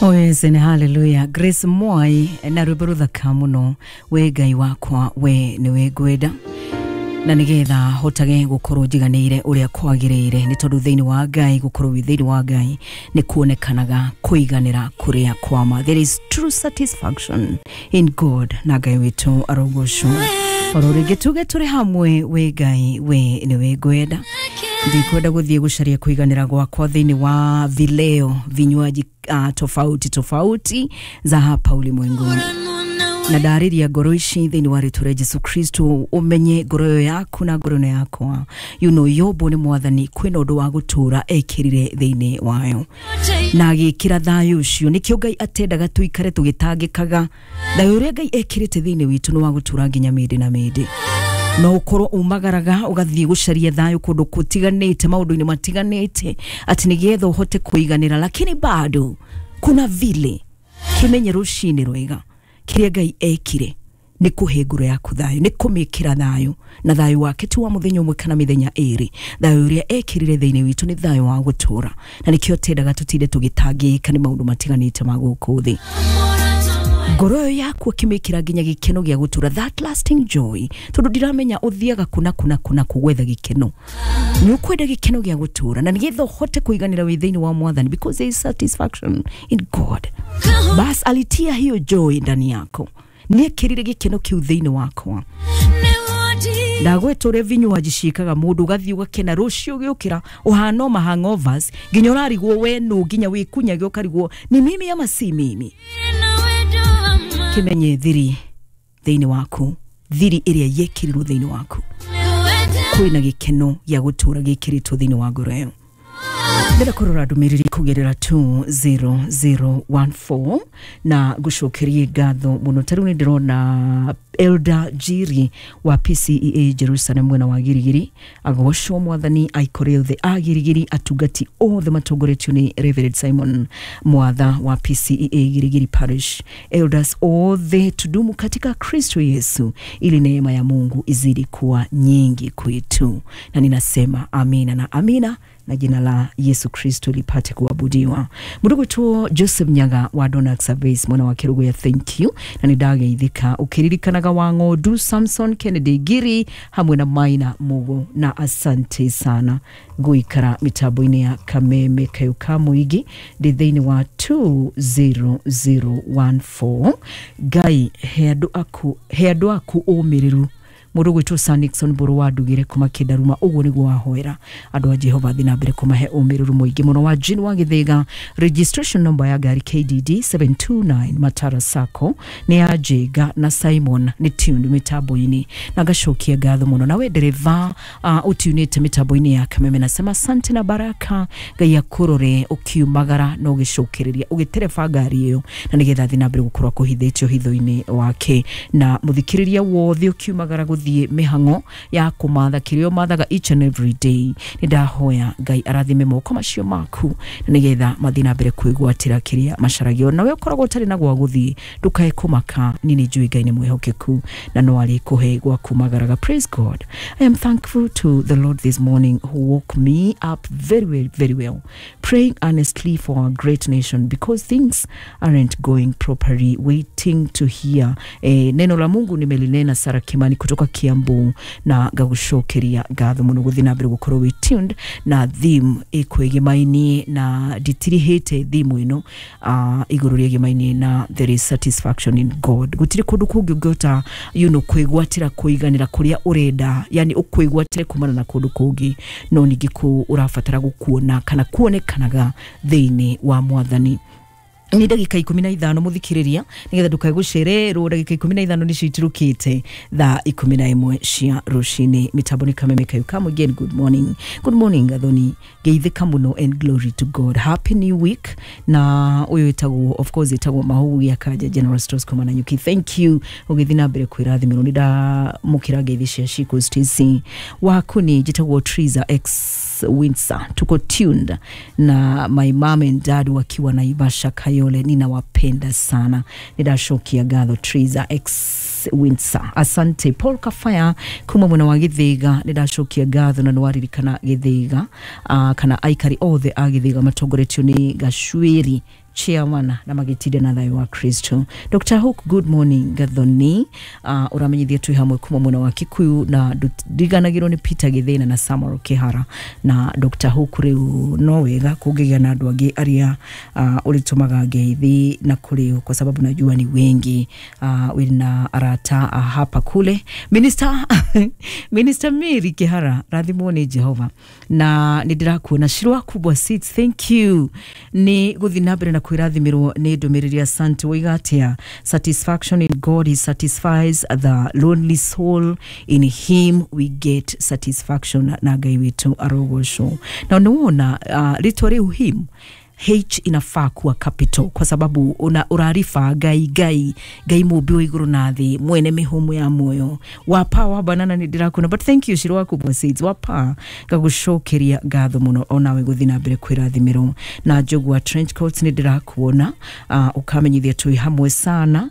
Oh yes, and hallelujah. Grace Mwai na rwĩmbo rũthaka mũno, we Ngai wakwa we nĩwe ngwenda, na nĩgetha hotage gũkorwo njiganĩire ũrĩa kwagĩrĩire, nĩ tondũ thĩinĩ wa Ngai, gũkorwo wĩ thĩinĩ wa Ngai nĩ kuonekanaga kũiganĩra kũrĩa kwama. There is true satisfaction in God, na Ngai witũ arogocwo. Oro rĩngĩ tuge tũrĩ hamwe, we Ngai we nĩwe ngwenda, ndikwenda gũthiĩ gũcaria kũiganĩra gwakwa thĩinĩ wa vileo, vinywaji tofauti tofauti za hapa ulimwenguni. Na ndarĩria ngoro ici thĩinĩ wa rĩtwa rĩa Jesu Kristo, ũmenye ngoro ĩyo yaku na ngoro ĩno yakwa, yombwo nĩ Mwathani, kwĩna ũndũ wa gũtũra ekĩrire thĩinĩ wayo na agĩkĩra thayũ ũcio. Nĩkĩo Ngai atendaga tũikare tũgĩtangĩkaga. Thayũ ũrĩa Ngai ekĩrĩte thĩinĩ witũ nĩ wa gũtũra nginya mĩndĩ na mĩndĩ. No ũkorwo umagaraga ũgathiĩ gũcaria thayũ kũndũ kũtiganĩte, maũndũ-inĩ matiganĩte, atĩ nĩgetha ũhote kũiganĩra, lakini bado kuna vile kĩmenye rũcinĩ rwega kĩrĩa Ngai ekire nĩ kũhe ngoro yaku thayũ, nĩ kũmĩkĩra thayũ, na thayũ wake ti wa mũthenya ũmwe kana mĩthenya ĩrĩ. Thayũ ũrĩa ekĩrire thĩinĩ witũ nĩ thayũ wa gũtũra, na nĩkĩo tendaga tũtinde tũgĩtangĩka nĩ maũndũ matiganĩte ma gũkũ thĩ. Ngoro ĩyo yaku akĩmĩkĩra nginya gĩkeno gĩa gũtũra, that lasting joy, tondũ ndiramenya ũthiaga kuna kuna kuna kũgwetha gĩkeno. Nĩ ũkwenda gĩkeno gĩa gũtũra, na nĩgetha ũhote kũiganĩra wĩ thĩinĩ wa Mwathani, because there is satisfaction in God. Bas alitia hiyo joy ndani yako, nĩekĩrire gĩkeno kĩu thĩinĩ wakwa. Ndagweta ũrĩa vinywaji ciĩkaga mũndũ, ũgathiĩ ũgakena, rũciũ ũgĩũkĩra ũhana o mahangovers, nginya ũrarigwo we nũ, nginya wĩkunyage ũkarigwo ni mimi ama si mimi. Kĩmenye thiri thĩinĩ waku, thiri ĩrĩa yekĩrirwo thĩinĩ waku, kwĩna gĩkeno gĩa gũtũra gĩkĩrĩtwo thĩinĩ wa ngoro ĩyo. Ndĩrenda kũrora ndũmĩrĩri kũgerera 2014 na ngũcokerie ngatho mũno. Ta rĩu nĩ ndĩrona Elder Jiri wa PCEA Jerusalem mwena wa Girigiri, agocwo Mwathani, aikore othe a Girigiri, atungati othe matongoretio nĩ Reverend Simon Mwatha wa PCEA Girigiri Parish, elders othe, tudumu katika Kristo Yesu ili neema ya Mungu izidi kuwa nyingi kwetu. Na ninasema amina na amina, na jina la Yesu Kristo lipate kuabudiwa. Murugu tu Joseph Nyaga wa Donax Service mwana wa Kirugu ya, thank you, na nĩndageithĩka ũkĩririkanaga wa ng'ondu Samson Kennedy Giri hamwe na Maina Mugo, na asante sana guikara mitambo-inĩ ya Kameme Kayo ka Mũingĩ. Ndĩ thĩinĩ wa 20014. Ngai he andũ aku, he andũ aku ũmĩrĩru. Mũndũ gwĩtwo Sir Nixon Mbũrũ wa Ndugire kuma Kĩndaruma, ũguo nĩguo wahoera andũ a Jehova thiĩ na mbere kũmahe ũmĩrĩru mũingĩ mũno. Wa Jean wa Gĩthĩga, registration number ya ngari KDD 729 Matara Sacco nĩ ya Jenga na Simon, nĩ tuned mitambo-inĩ, na ngacokia ngatho mũno. Nawe ndereva ũtunĩte mitambo-inĩ ya Kameme, nasema asante na baraka. Ngai akũrore ũkiumagara na ũgĩcokereria ũgĩtereba ngari ĩyo, na nĩgetha thiĩ na mbere gũkorwo akũhithĩtio hitho-inĩ wake. Na mũthikĩrĩria wothe ũkiumagara gũthiĩ mĩhang'o ya kũmatha kĩrĩa ũmathaga each and every day, nĩ ndahoya Ngai arathime moko macio maku, na nĩgetha mathiĩ na mbere kwĩgwatĩra kĩrĩa macaragio. Nawe ũkoragwo ũtarĩ na gwa gũthiĩ, ndũkae kũmaka, niĩ nĩ njũĩ Ngai nĩ mwĩhokeku na no arĩkũhe gwa kumagaraga. Praise God. I am thankful to the Lord this morning who woke me up very well, very well, praying earnestly for our great nation because things aren't going properly, waiting to hear neno la Mungu nimelinena. Sara Kimani kutoka Kiambu, na ngagucokeria ngatho mũno gũthiĩ na mbere gũkorwo wĩ tuned na theme ĩkwĩgĩmainie, na nditirihĩte theme ĩno igũrũ rĩegĩmainie na there is satisfaction in God. Gũtirĩ kũndũ kũngĩ ũngĩhota kwĩgwatĩra kũiganĩra kũrĩa ũrenda, yani ũkwĩgwatĩre kumana na kũndũ kũngĩ, no ningĩ kũ ũrabatara gũkuona kana kuonekanaga thĩinĩ wa Mwathani. Nĩ ndagĩka 15, mũthikĩrĩria, nĩgetha ndũkae gũcererwo. Ndagĩka 15 nĩcio itirũkĩte thaa 11 cia rũcinĩ. Mĩtambo nĩ Kameme Kayo ka Mũingĩ. Good morning, good morning Gathoni, ngeithĩka mũno and glory to God. Happy new week. Na ũyũ ĩtagwo, of course, ĩtagwo Mahugu ya Kanja General Stores kuma Nanyuki, thank you ũgĩthiĩ na mbere kwĩrathimĩrwo. Nĩ ndamũkĩra ngeithi cia Shiko Stacy Wakuni. Njĩtagwo Triza X Windsor, tuko tuned na my mom and dad wakiwa Naivasha Kayole, ninawapenda sana. Nĩndacokia ngatho, Triza X Windsor, asante. Paul Kafaya kuma mwena wa Gĩthĩga, nĩndacokia ngatho na nĩwaririkana Gĩthĩga, kana aikari othe a Gĩthĩga matongoretio nĩ Gacuĩri. Chairman na magĩtinde na thayũ wa Kristo. Dr. Hook, good morning Gathoni. Ũramenyithia twĩ hamwe kuma mwena wa Kikuyu na ndiganagĩrwo nĩ Peter Gĩthĩna na Samuel Kĩhara na Dr. Hook. Rĩu no wega kũngĩgĩa na andũ angĩ arĩa ũrĩtũmaga ngeithi na kũrĩ, kwa sababu najua ni wengi wĩna arata hapa kule. Minister Mary Kĩhara, rathimwo nĩ Jehova na nĩ ndĩrakuona. Shirwa Kubwa Seeds, thank you nĩ gũthiĩ na mbere na kwĩrathimĩrwo nĩ ndũmĩrĩri. Asante. Waiga atĩa? Satisfaction in God, he satisfies the lonely soul. In him we get satisfaction, na Ngai witũ arogocwo. Na nĩwona rĩtwa rĩu him, H inafaa kuwa capital, kwa sababu una urarifa Ngai, Ngai, Ngai mũmbi wa igũrũ na thĩ, mwene mĩhũmũ ya muoyo wapa wa banana. Nĩ ndĩrakuona, but thank you Shiro waku Seeds wapa, ngagũcokeria ngatho mũno onawe gũthiĩ na mbere kwĩrathimĩrwo. Na Njũgua trench coats, nĩ ndĩrakuona ũkamenyithia twĩ hamwe sana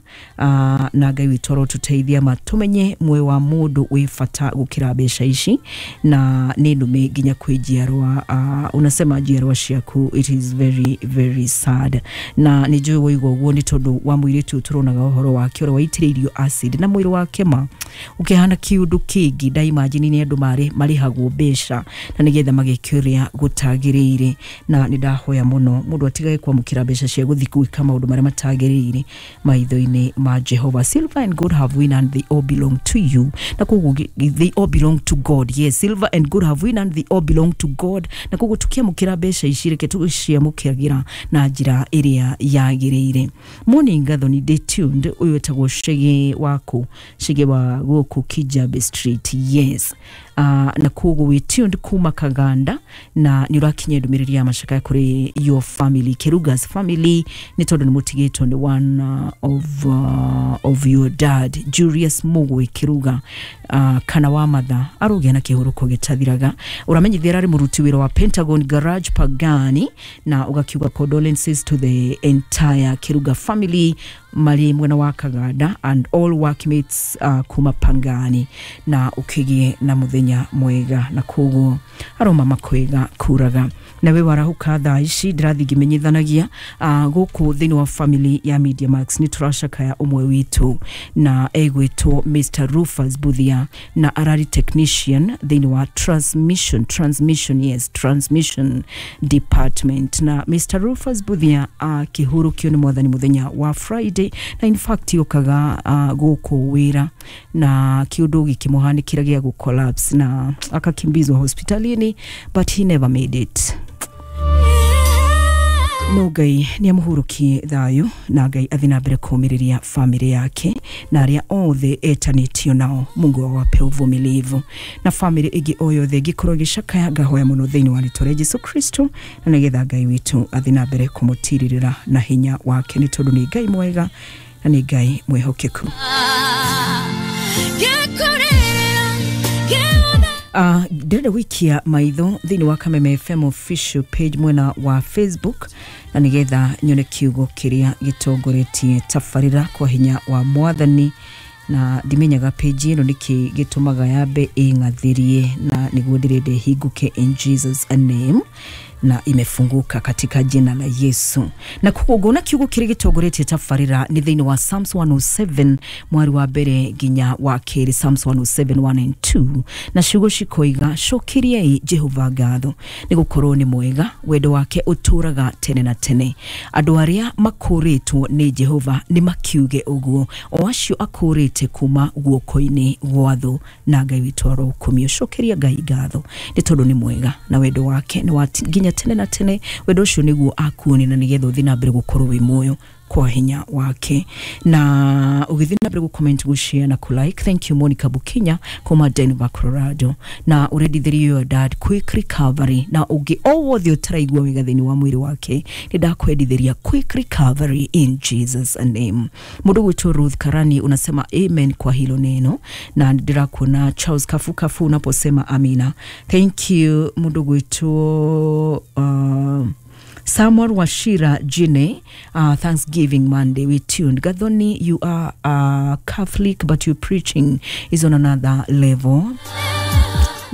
na Ngai witũ arotũteithia ma tũmenye muoyo wa mũndũ wĩ bata gũkĩra mbeca ici, na nĩ ndume nginya kwĩ njiarwa. Unasema njiarwa ciaku, it is very very sad, na nĩ njũĩ waigua ũguo nĩ tondũ wa mũirĩtu tũronaga ũhoro wake ũrĩa waitĩrĩirio acid na mwĩrĩ wake ma ũkĩhana kĩũndũ kĩngĩ. Ndaimagine nĩ andũ marĩ marĩhagwo mbeca na nĩgetha mageke ũrĩa gũtagĩrĩire, na nĩ ndahoya mũno mũndũ atigage kwamũkĩra mbeca cia gũthiĩ gwĩka maũndũ marĩa matagĩrĩire maitho-inĩ ma Jehova. Silver and gold have win and they all belong to you, na koguo they all belong to God. Yes, silver and gold have win and they all belong to God, na koguo tukiamũkĩra mbeca ici, reke tũciamũkĩragira na njĩra ĩrĩa yagĩrĩire. Morning Gathoni, day tuned. Ũyũ wetagwo Shege waku, Shege wa gũkũ Kijabe Street. Yes, na koguo wĩ tuned kuma Kaganda na nĩ ũrakinyia ndũmĩrĩri ya macakaya kũrĩ your family, Kerugas family, nĩ tondũ nĩ mũtigĩtwo nĩ one of your dad, Julius Mugwe Kiruga, kana wa matha, arũgĩa na kĩhurũko gĩtathiraga. Ũramenyithia ararĩ mũruti wĩra wa Pentagon Garage Pagani, na ũgakiuga condolences to the entire Kiruga family marĩ mwena wa Kaganda and all workmates kuma Pangani, na ũkĩgĩe na mũthenya mwega, na koguo aroma makwega kuraga. Nawe warahuka thaa ici, ndĩrathiĩ ngĩmenyithanagia gũkũ thĩinĩ wa family ya Media Max nĩ tũracakaya ũmwe witũ na egwĩtwo Mr. Rufus Buthia, na arari technician thĩinĩ wa transmission, yes, transmission department. Na Mr. Rufus Buthia akĩhurũkio nĩ mwathani mũthenya wa Friday, na in fact okaga gũkũ wĩra na kĩũndũ gĩkĩmũhanĩkĩra gĩa gũ collapse na akakimbizwa hospitalini, but he never made it. No Ngai nĩ amũhurũkie thayũ, na Ngai athiĩ na mbere kũũmĩrĩria famĩlĩ yake na arĩa othe etanĩtio nao. Mungu awape uvumilivu, na famĩlĩ ĩngĩ o yothe ĩngĩkorwo ĩgĩcakaya, ngahoya mũno thĩinĩ wa rĩtwa rĩa Jesu Kristo na nĩgetha Ngai witũ athiĩ na mbere kũmũtirĩrĩra na hinya wake, nĩ tondũ nĩ Ngai mwega na nĩ Ngai mwĩhokeku. Ndĩrenda gũikia maitho thĩinĩ wa Kameme FM official page mwena wa Facebook na nĩgetha nyone kiugo kĩrĩa gĩtongoretie tabarĩra kwa hinya wa mwathani, na ndimenyaga page ĩno nĩkĩ gĩtũmaga yambe ĩng'athĩrie, na nĩguo ndĩrenda ĩhingũke in Jesus name, na imefunguka katika jina la Yesu. Na koguo na kiugo kĩrĩa gĩtongoretie tabarĩra nĩ thĩinĩ wa Psalms 107 mwari wa mbere nginya wa kerĩ, Psalms 107 1 and 2, na ciugo cikoiga, cokeriai Jehova ngatho nĩ gũkorwo nĩ mwega, wendo wake ũtũraga tene na tene. Andũ arĩa makũrĩtwo nĩ Jehova nĩ makiuge ũguo, o acio akũrĩte kuma guoko-inĩ gwa thũ, na Ngai witũ arokumio. Cokeria Ngai ngatho nĩ tondũ nĩ mwega na wendo wake nĩ wa nginya tene na tene. Wendo ũcio nĩguo akuone na nĩgetha ũthiĩ na mbere gũkorwo wĩ muoyo kwa hinya wake. Na ũgĩthiĩ na mbere gũ-comment, gũ-share na ku-like. Thank you Monica Bukinya kuma Denver, Colorado, na ũrendithĩrio your dad quick recovery, na ũngĩ o wothe ũtaraigua wega thĩinĩ wa mwĩrĩ wake, nĩ ndakwendithĩria quick recovery in Jesus name. Mũndũ gwĩtwo Ruth Karani unasema amen kwa hilo neno, na ndĩrakuona Charles Kafukafu unaposema amina. Thank you. Mũndũ gwĩtwo Samuel Wachira Jine, Thanksgiving Monday, we tuned. Gathoni, you are a Catholic, but your preaching is on another level.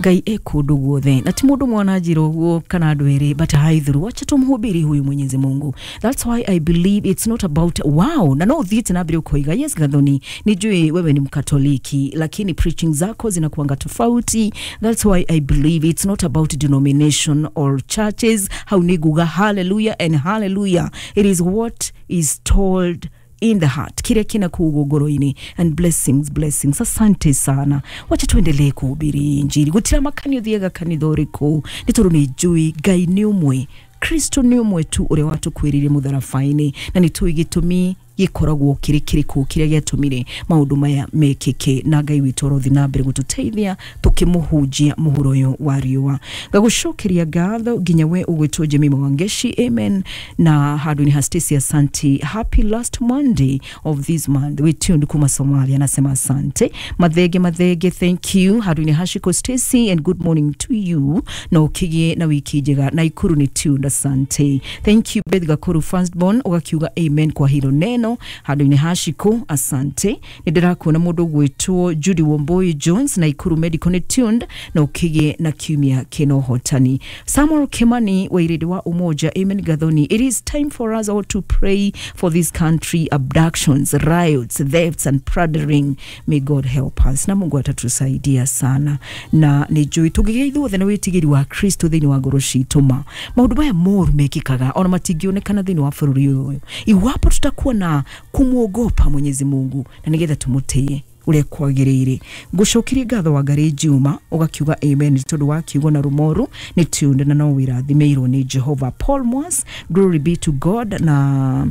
Ngai e kũndũ guothe, na ti mũndũ mwana njĩra ũguo kana andũ erĩ, but haithuru, wacha tumhubiri huyu Mwenyezi Mungu. That's why I believe it's not about wow. Na no ũthiĩte na mbere ũkoiga, yes Gathoni, nijue wewe ni Mkatoliki, lakini preaching zako zinakuanga tofauti. That's why I believe it's not about denomination or churches. Hau nĩ nguga hallelujah and hallelujah. It is what is told in the heart, kile kina kuugwo ngoro-inĩ. And blessings, blessings, asante sana. Wacha tuendelee kuhubiri injili. Gutira makani ũthiaga kanitha ũrĩkũ, nĩ tondũ nĩ njũĩ Ngai nĩ ũmwe, Kristo nĩ ũmwe tu ũrĩa watũkuĩrĩire mũtharaba-inĩ, na nĩ tũĩ gĩtũmi gĩkoragwo kĩrĩ kĩrĩkũ kĩrĩa gĩatũmire maũndũ maya mekĩke, na Ngai witũ arothi na mbere gũtũteithia tũkĩmũhunjia mũhuro ũyũ wa riũa. Ngagũcokeria ngatho nginya we ũgwĩtwo Jemima Wangeshi, amen. Na handũ-inĩ ha Stacy, asante. Happy last Monday of this month. We tuned kuma Somalia, nasema asante. Mathenge Mathenge, thank you. Handũ-inĩ ha Shiko Stacy, and good morning to you, na ũkĩgĩe na wiki njega. Na Ikuru nĩ tuned, asante, thank you. Beth Gakuru firstborn, ũgakiuga amen kwa hilo neno. Handũ-inĩ ha Shiko, asante. Nĩ ndĩrakuona mũndũ ũgwĩtwo Judy Wambui Jones na Ikuru Medical nĩ tuned, na ũkĩgĩe na kiumia kĩna ũhotani. Samuel Kimani wa Irĩndĩ wa Umoja, amen Gathoni, it is time for us all to pray for this country. Abductions, riots, thefts and plundering. May God help us, na Mungu atatusaidia sana. Na nĩ njũĩ tũngĩgĩa ithuothe na wĩtigĩri wa Kristo thĩinĩ wa ngoro citũ, ma maũndũ maya moru mekĩkaga ona matingĩonekana thĩinĩ wa bũrũri ũyũ, iwapo tutakuwa na kumwogopa Mwenyezi Mungu na nĩgetha tũmũtĩe ũrĩa kwagĩrĩire. Ngũcokerie ngatho wa Ngarĩ Juma, ũgakiuga amen tondũ wa kiugo na Rumoru nĩ tuned, na no wĩrathimĩirwo nĩ Jehova. Paul Mwas, glory be to God, na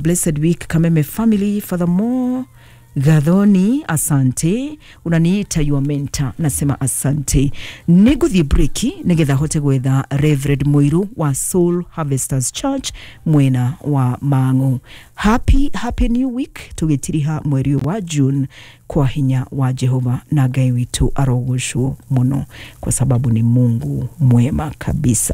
blessed week Kameme family. Furthermore Gathoni, asante, unaniita your mentor, nasema asante. Nĩngũthiĩ breki nĩgetha hote gwetha Reverend Mũiru wa Soul Harvesters Church mwena wa Mang'u. Happy, happy new week, tũgĩtiriha mweri ũyũ wa June kwa hinya wa Jehova, na Ngai witũ arogocwo mũno kwa sababu ni Mungu mwema kabisa.